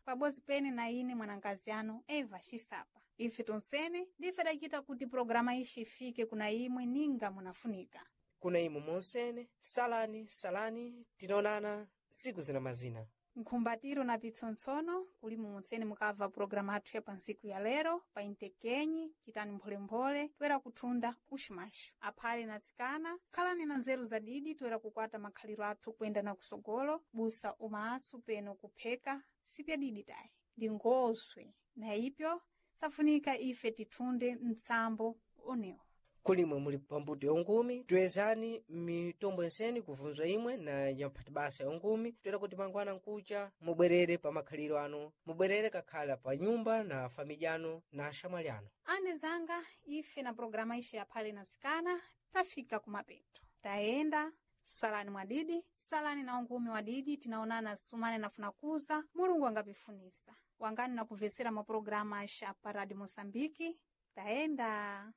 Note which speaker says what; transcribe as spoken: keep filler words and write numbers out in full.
Speaker 1: Pabozi pene na ine mwanangazi anu Eva Xisapa. Ife tonsene ndife dacita kuti programa ixi ifike kuna imwe ninga munafunika.
Speaker 2: Kuna imwe monsene, salani salani, tinaonana siku zina mazina.
Speaker 1: Nkhumbatiro na pitsontsono kuli mumonsene mukabva programa athu ya pansiku ya lero pa intekenyi citani mpholemphole toera kuthunda uxumaxu aphale na zikana khalani na nzeru zadidi toera kukwata makhaliro athu kuyenda na kusogolo busa umasu peno kupheka sipyadidi tayi ndi ngoswe na ipyo safunika ife tithunde mtsambo onewo.
Speaker 2: Kulimwe muli pambuto ya ungumi, toyezani mitombo yenseni kuvunzwa imwe na nyamphati basa ya ungumi, toera kuti mangwana nkucha mubwerere pa makhaliro anu, mubwerere kakhala pa nyumba na familya anu na axamwali anu.
Speaker 1: Ane zanga ife na programa ixe yaphale na zikana tafika kumapeto tayenda. Salani mwadidi, salani na ungumi wadidi. Tinaonana sumane nafuna kuza mulungu angapifunisa wangani na kuvesera mapurogiramu axa pa Radio Moçambique. Tayenda.